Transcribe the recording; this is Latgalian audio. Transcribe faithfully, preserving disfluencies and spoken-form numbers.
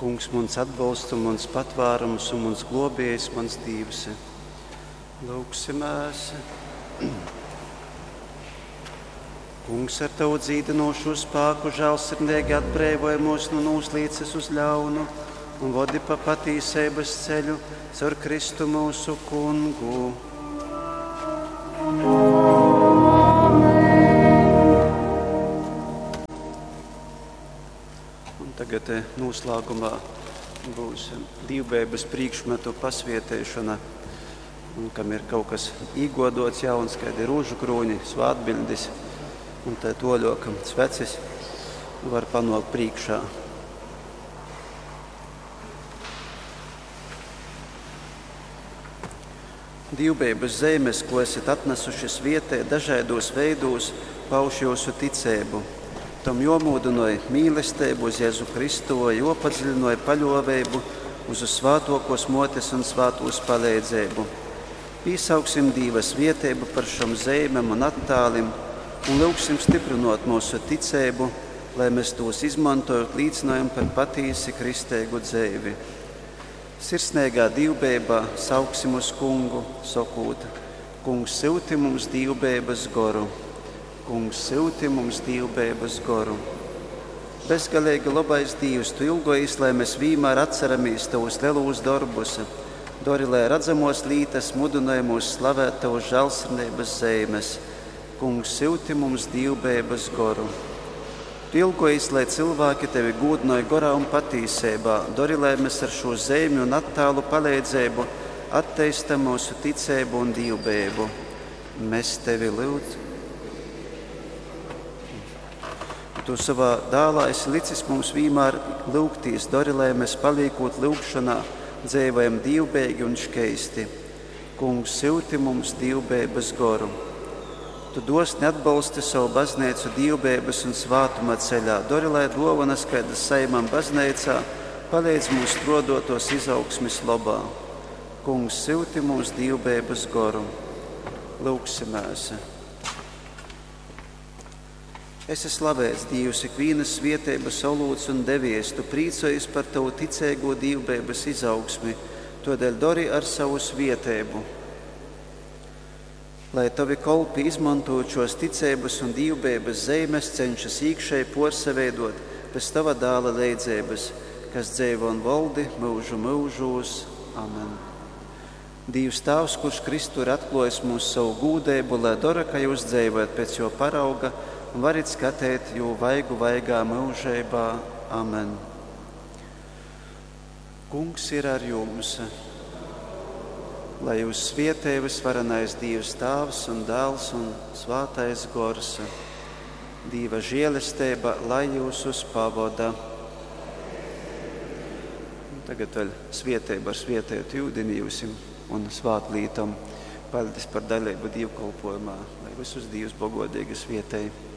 Kungs, muns atbolsts un muns patvārums un muns globiejs, mans Dīvs. Lūgsimēs. Kungs ar tavu dzīdinošo spāku žēlsirdīgi atbreivoja mūs no nūslīces uz ļaunu un vodi pa patīseibas ceļu caur Kristu mūsu kungu. Un tagad eh, noslēgumā būs dīvbeibas priekšmetu pasvietēšana, un kam ir kaut kas īgodots jauns, kādi rūžu krūņi, svātbiļdis, un tā toļokam svecis var panākt priekšā. Dīvbeibas zeimes, ko esat atnesuši svietē dažādos veidos, pauž jūsu ticību. Tom jomūdinoja mīlestību uz Jēzu Kristu, jopadziļinoja paļoveibu uz svātokos motes un svātos palīdzību. Pīsauksim Dīva svieteibu par šom zeimēm un attālim un lūgsim stiprinot mūsu ticību, lai mēs tos izmantojot līdzinojam par patīsi kristēgu dzeivi. Sirsnīgā dīvbeibā sauksim uz kungu, sokūt, Kungs syuti mums dīvbeibas goru. Kungs syuti mums dīvbeibas goru. Bezgalīgi labais Dīvs, tu ilgojies, lai mēs vienmēr atceramies tavus lielus darbus. Dori, lai redzamos lītas mudināja mūs slavēt tavu žēlsirdības zeimes. Kungs syuti mums dīvbeibas goru. Tu ilgojies, lai cilvēki tevi gūdinoja gorā un patīsībā. Dori, lai mēs ar šo zeimi un attālu palīdzību atteistam mūsu ticību un dīvbeibu. Mēs tevi lūdzam. Tu savā dālā esi licis mums vienmēr lūgtīs, dori, lai mēs paliekot lūgšanā, dzīvojam dīvbeigi un škeisti. Kungs, syuti mums dīvbeibas goru. Tu dosni atbalsti savu baznīcu dīvbeibas un svātuma ceļā. Dori, lai dovanas, kādas saimam baznīcā, palīdz mums strodotos izaugsmes labā. Kungs, syuti mums dīvbeibas goru. Lūgsimēs. Es esmu slavēts Dievs, ikvienas svietības olūts un devies, tu prīcojies par tavu ticēgo dīvbeibas izaugsmi, todēļ dori ar savu svietēbu. Lai tavi kolpi izmantojot šos ticības un dīvbeibas zeimes, cenšas iekšēji porsaveidot pēc tava dāla leidzības, kas dzeivo un valdi mūžu mūžos. Amen. Dievs Tēvs, kurš Kristu ir atklājis mums savu gūdību, lai dara, ka jūs dzīvojat pēc jo parauga un varat skatīt jo vaigu vaigā mūžībā. Amen. Kungs ir ar jums. Lai jūs svietē visvarenais Dievs Tēvs un Dēls un Svātais Gors. Dieva žēlestība, lai jūs uz pavoda. Un tagad vēl svietēba ar svietētu ūdeni jūsim un svātlītam. Paldies par dalību dievkalpojumā, lai visus Dievs bogodīgi svietēja.